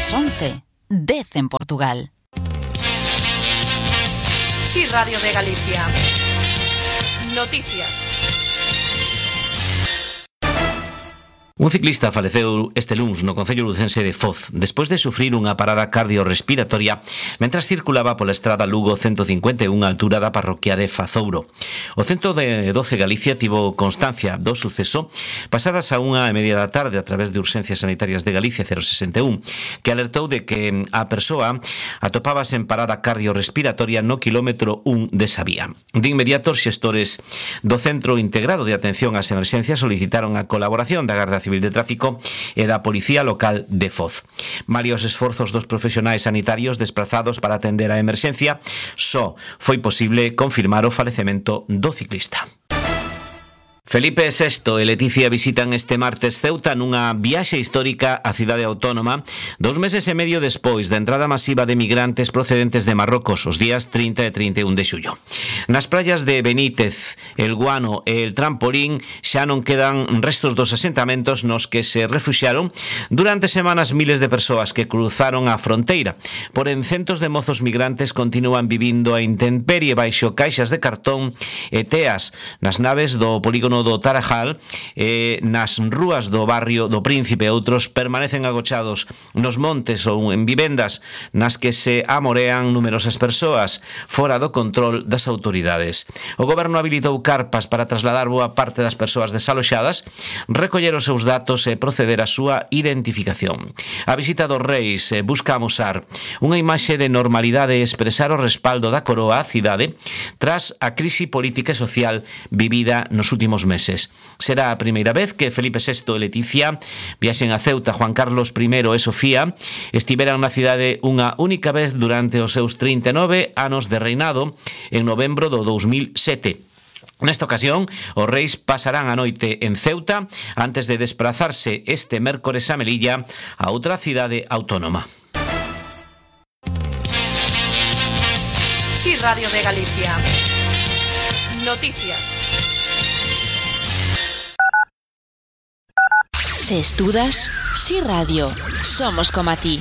As 11, 10 en Portugal. Sí, Radio de Galicia. Noticias. Un ciclista faleceu este luns no concello lucense de Foz despois de sufrir unha parada cardiorrespiratoria mentras circulaba pola estrada Lugo 151 á altura da parroquia de Fazouro. O 112 Galicia tivo constancia do suceso pasadas a 1:30 da tarde a través de Urxencias Sanitarias de Galicia 061, que alertou de que a persoa atopábase en parada cardiorrespiratoria no quilómetro 1 desa vía. De inmediato, os xestores do Centro Integrado de Atención ás Emerxencias solicitaron a colaboración da Garda Civil de Tráfico e da Policía Local de Foz. Malia os esforzos dos profesionais sanitarios desprazados para atender a emerxencia, só foi posible confirmar o falecemento do ciclista. Felipe VI e Leticia visitan este martes Ceuta nunha viaxe histórica á cidade autónoma 2 meses e medio despois da entrada masiva de migrantes procedentes de Marrocos os días 30 e 31 de xullo. Nas praias de Benítez, El Guano e El Trampolín xa non quedan restos dos asentamentos nos que se refuxiaron durante semanas miles de persoas que cruzaron a fronteira. Porén, centos de mozos migrantes continúan vivindo a intemperie baixo caixas de cartón e teas nas naves do polígono do Tarajal e nas rúas do barrio do Príncipe. Outros permanecen agochados nos montes ou en vivendas nas que se amorean numerosas persoas fora do control das autoridades. O goberno habilitou carpas para trasladar boa parte das persoas desaloxadas, recoller os seus datos e proceder á súa identificación. A visita dos reis busca amosar unha imaxe de normalidade e expresar o respaldo da coroa á cidade tras a crise política e social vivida nos últimos meses. Será a primeira vez que Felipe VI e Leticia viaxen a Ceuta. Juan Carlos I e Sofía estiveran na cidade unha única vez durante os seus 39 anos de reinado en novembro do 2007. Nesta ocasión, os reis pasarán a noite en Ceuta antes de desplazarse este mércores a Melilla, a outra cidade autónoma. Sí, Radio de Galicia. Noticias. Se estudas, Sí Radio, somos como a ti.